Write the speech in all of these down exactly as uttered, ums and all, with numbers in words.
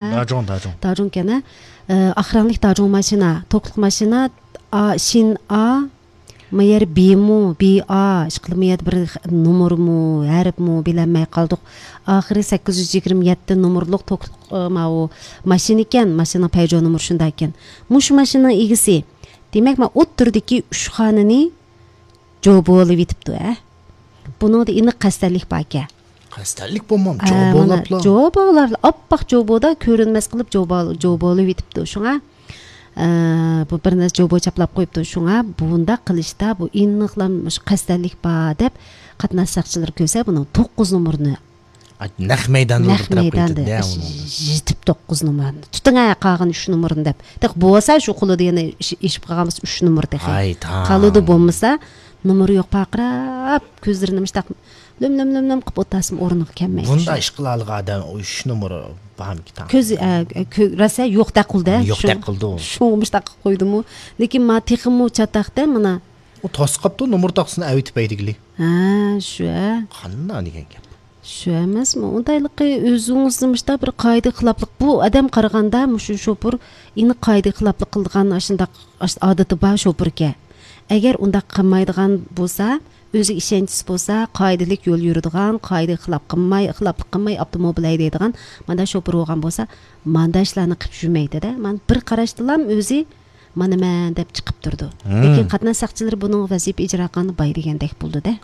داجۇڭ، داجۇڭ. داجۇڭ ئىكەن، ھە. ئە، ئاق رەڭلىك داجۇڭ ماشىنا، توكلۇق ماشىنا، ئا، شىن ئا، ما يەر بىمۇ، بى ئا، ئىشقىلىپ ما يەردە بىر خ-، نومۇرمۇ، ھەرپمۇ بىلەلمەي قالدۇق. ئاخىرى سەككىز يۈز يىگىرمە يەتتە نومۇرلۇق توكلۇق، ئە، ماۋۇ ماشىنا ئىكەن، ماشىنىنىڭ پەيجو نومۇرى شۇنداق ئىكەن. مۇشۇ ماشىنىنىڭ ئىگىسى، دېمەك، مانا ئوتتۇرىدىكى ئۈچ خانىنى جوبولىۋېتىپتۇ، ھە. بۇنىڭدا ئېنىق قەستەنلىك باركەن. قەستەنلىك بولمام، ھە، مانا جوبولاپلا. جوبولاپلا، ئاپئاق جوبودا كۆرۈنمەس قىلىپ جوبو-، جوبولىۋېتىپتۇ. شۇڭا، ئە، بۇ بىر نەرسە جوبو چاپلاپ قويۇپتۇ. شۇڭا بۇنداق قىلىشتا بۇ ئېنىقلا مۇشۇ قەستەنلىك بار دەپ قاتناش ساقچىلىرى كۆرسە بۇنىڭ توققۇز نومۇرىنى ئاي، نەق مەيداندا نەق تۇرۇپ مەيداندا قېتىدە، ئۇنى. يېتىپ توققۇز نومۇرنى. تۇتۇڭ ھە، قالغان ئۈچ نومۇرنى دەپ. تېخى بولسا شۇ قولىدا يەنە ئىش-، ئېشىپ قالغان بولسا ئۈچ نومۇر تېخى. ئاي، تاڭ. قالىدۇ بولمىسا، نومۇرى يوق پارقىراپ، كۆزلىرىنى مۇشتاق لۆم، لۆم، لۆم، لۆم قىلىپ ئولتۇرسىمۇ ئورنىغا كەلمەيدۇ. بۇنداق ئىش قىلالىغان ئادەم ئۈچ نومۇر بارمىكىن؟ كۆز، ئە، كۆ-، راسا يوقتەك قىلدى. يوقتەك شۇڭ-، قىلدى ئۇ. شۇڭا مۇشتاق قىلىپ قويدىمۇ. لېكىن ما تېخىمۇ چاتاقتا مانا. ئۇ توسۇپ قاپتۇ، نومۇر تاختىسىنى ئەۋېتىپ ھەيدىگىلى. ھە، شۇ، ھە. قانداق دېگەن گەپ؟ شۇ ئەمەسمۇ؟ ئۇنداقلىقى ئۆزىڭىزنى مۇشۇنداق بىر قائىدە خىلاپلىق، بۇ ئادەم قارىغاندا مۇشۇ شوپۇر ئېنىق قائىدە خىلاپلىق قىلىدىغان ئاشۇنداق ئاش-، ئادىتى بار شوپۇركەن. ئەگەر ئۇنداق قىلمايدىغان بولسا، ئۆزىگە ئىشەنچىسى بولسا، قائىدىلىك يول يۈرىدىغان، قائىدىگە خىلاپ قىلماي، خىلاپلىق قىلماي ئاپتوموبىل ھەيدەيدىغان مانداق شوپۇر بولغان بولسا، مانداق ئىشلارنى قىلىپ يۈرمەيدۇ-دە. مانا بىر قاراشتىلا ئۆزى مانا مەن دەپ چىقىپ تۇرىدۇ. ھىم. لېكىن قاتناش ساقچىلىرى بۇنىڭغا ۋەزىپە ئىجرا قىلغاندا باي دېگەندەك بولىدۇ-دە.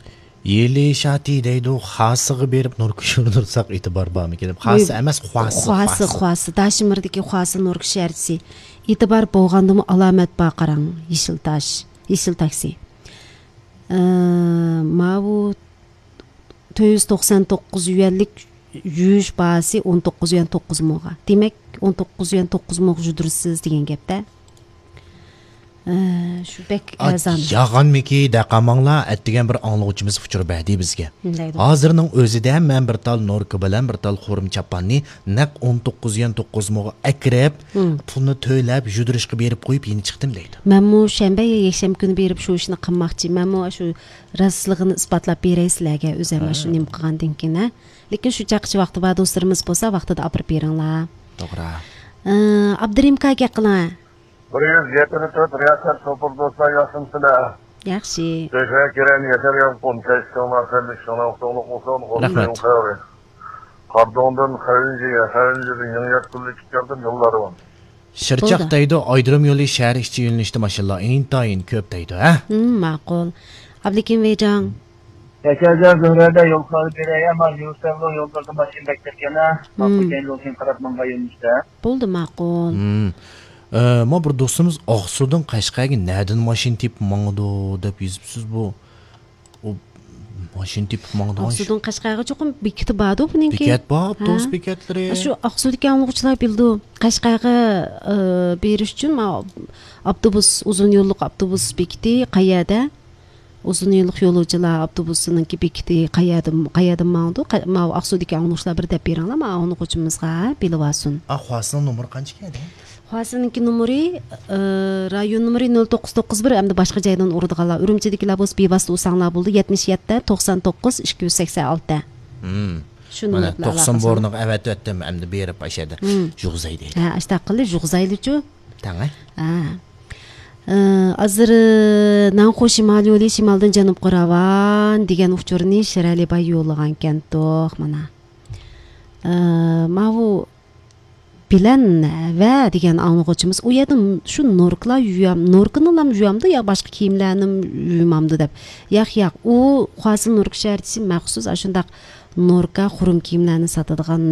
يېلى شاتى دەيدۇ، خاسىغا بېرىپ نوركا يۇردۇرساق ئېتىبار بارمىكىن دەپ. خاسى ئەمەس، خۇاسى، خۇاسى، خۇاسى. خۇاسى. داشىمىردىكى خۇاسى نوركا شەھەرچىسى. ئېتىبار بولغاندىمۇ ئالامەت بار قاراڭ. يېشىل تاش، يېشىل تاكسى. ئە، ماۋۇ تۆت يۈز توقسان توققۇز يۈەنلىك يۇيۇش باھاسى ئون توققۇز يۈەن توققۇز موغا. دېمەك، ئون توققۇز يۈەن توققۇز موغا يۇدۇرىسىز دېگەن گەپتە. ئە، شۇ بەك ئەرزان. ياغانمىكى دەقالماڭلار، ئەتىگەن بىر ئاڭلىغۇچىمىز ئۇچۇر بەردى بىزگە. دەيدۇ. ھازىرنىڭ ئۆزىدە مەن بىر تال نوركا بىلەن بىر تال خۇرۇم چاپاننى نەق ئون توققۇز يۈەن توققۇز موغا ئەكىرىپ، ھىم. پۇلنى تۆلەپ، يۇدۇرۇشقا بېرىپ قويۇپ يېنى چىقتىم دەيدۇ. مەنمۇ شەنبە يا يەكشەنبە كۈنى بېرىپ شۇ ئىشنى قىلماقچى. مەنمۇ شۇ راستلىقىنى ئىسپاتلاپ بېرەي سىلەرگە، ئۆزۈم ھە. شۇ نېمە قىلغاندىن كېيىن، ھە. لېكىن شۇ چاقچى ۋاقتى بار دوستلىرىمىز بولسا، ۋاقتىدا ئاپىرىپ بېرىڭلار. توغرا. ئى، ئابدۇرېھىم كاكا قىلىڭ. بىر يۈز يەتمىش تۆت رىياسەت شوپۇر دوستلار، ياخشىمۇسىلەر؟ ياخشى. تۆشەك كېرەن ياشار يالقۇن، كەچ چوڭلار، سەنلىك شۇڭلار، ئۇتۇقلۇق بولسۇن، رەھمەت. قەۋرى. قاردوڭدىن خەۋىنجىگە، خەۋىنجىدىن يېڭى يات كۈنلۈك ئىككى ياردىن يوللارغا. شىرچاق بولدى. دەيدۇ، ئايرودروم يولى شەھەر ئىچى يۆنىلىشتە ماشىنىلار ئىنتايىن كۆپ دەيدۇ، ھە؟ ھىم، ماقۇل. ئابلىكىم ۋېيجاڭ. ياشارجان زۆھرەدە يول خەۋىرى بېرەي، ئەمما يۈرسەملۇ يوللاردا ماشىنا بەك كۆپكەن، ھە؟ ھىم. ماقۇل كەينىدىن كېيىن قاراپ ماڭغان يۆنىلىشتە. بولدى، ماقۇل. ھىم. ئە، ما بىر دوستىمىز ئاقسۇدىن قەشقەرگە نەدىن ماشىنا تېپىپ ماڭىدۇ دەپ يېزىپسىز بۇ. ئۇ ماشىنا تېپىپ ماڭىدىغان ئىش. ئاقسۇدىن قەشقەرگە چوقۇم بېكىتى باردۇ بۇنىڭكى. بېكەت بار، ئاپتوبۇس ھە. بېكەتلىرى. شۇ ئاقسۇدىكى ئاڭلىغۇچىلار بىلىدۇ. قەشقەرگە، ئى، بېرىش ئۈچۈن ما-، ئاپتوبۇس، ئۇزۇن يوللۇق ئاپتوبۇس بېكىتى قەيەردە؟ ئۇزۇن يوللۇق يولۇچىلار ئاپتوبۇسىنىڭكى بېكىتى قەيەردىن، قەيەردىن ماڭىدۇ؟ قە-، ماۋۇ ئاقسۇدىكى ئاڭلىغۇچىلار بىر دەپ بېرىڭلار، ما ئاڭلىغۇچىمىزغا بىلىۋالسۇن. ئا، خۇاسىنىڭ نومۇرى قانچىكەن؟ خۇاسىنىڭكى نومۇرى، ئى، رايون نومۇرى نۆل توققۇز توققۇز بىر، ئەمدى باشقا جايدىن ئۇرىدىغانلار، ئۈرۈمچىدىكىلەر بولسا بىۋاسىتە ئۇرساڭلار بولىدۇ، يەتمىش يەتتە، توقسان توققۇز، ئىككى يۈز سەكسەن ئالتە. ھىم. شۇ مانا نومۇرلار توقسان ئالاقىسىدا. بورنىغا ئەۋەتىۋەتتىم، ئەمدى بېرىپ ئاشۇ يەردە ھىم. يۇغزاي دەيدۇ. ھە، ئاشتاق قىلدى، يۇغزايلىچۇ. تەڭ، ھە؟ ھە. ئى، ھازىر، ئى، ناڭخۇ شىمال يولى شىمالدىن جەنۇبقا راۋان دېگەن ئۇچۇرنى شىرئەلى باي يوللىغانكەنتۇق، مانا. ئى، ماۋۇ بىلەن ۋە دېگەن ئاڭلىغۇچىمىز ئۇ يەردە ن-، شۇ نوركىلار يۇيام-، نوركىنىلام يۇيامدۇ يا باشقا كىيىملەرنىمۇ يۇيمامدۇ دەپ. ياق، ياق، ئۇ خۇاسىن نوركا شەھەرچىسى مەخسۇس ئاشۇنداق نوركا خۇرۇم كىيىملەرنى ساتىدىغان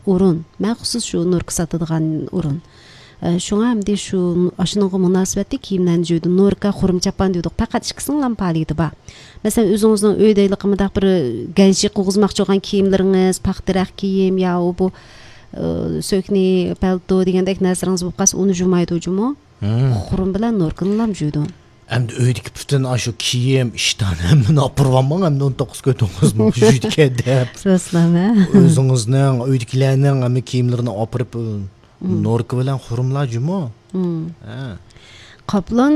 ئورۇن. مەخسۇس شۇ نوركا ساتىدىغان ئورۇن. ئە، شۇڭا ئەمدى شۇ، ئاشۇنىڭغا مۇناسىۋەتلىك كىيىملەرنى يۇيىدۇ. نوركا، خۇرۇم چاپان دېدۇق. پەقەت ئىككىسىنىڭلام پائالىيىتى بار. مەسىلەن، ئۆزىڭىزنىڭ ئۆيدە ھېلىقى مۇنداق بىر گەنشى قىلغۇزماقچى بولغان كىيىملىرىڭىز، پاختا رەخ كىيىم يا ئۇ بۇ، ئى، سۆكنى، پەلتو دېگەندەك نەرسىلىرىڭىز بولۇپ قالسا، ئۇنى جۇمايدۇ جۇمۇ. ھىم. خۇرۇم بىلەن نوركىنىلام جۇيدۇ. ئەمدى ئۆيدىكى پۈتۈن ئاشۇ كىيىم، ئىشتان ھەممىنى ئاپىرىۋالماڭ، ئەمدى ئون توققۇز كۆي توققۇز مۇ جۇيدىكەن دەپ. راسلام، ھە؟ ئۆزىڭىزنىڭ، ئۆيدىكىلەرنىڭ ھەممە كىيىملىرىنى ئاپىرىپ، مم. نوركا بىلەن خۇرۇملا جۇمۇ. مم. ھە. قاپلان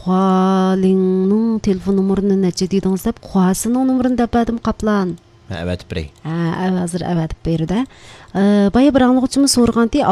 خۇالىڭنىڭ تېلېفون نومۇرىنى نەچچە دېدىڭىز دەپ، خۇاسىنىڭ نومۇرىنى دەپ بەردىم، قاپلان. مەن ئەۋەتىپ بېرەي. ھە، ھازىر ئەۋەتىپ بېرىدۇ. بايا بىر ئاڭلىغۇچىمىز سورىغانتى،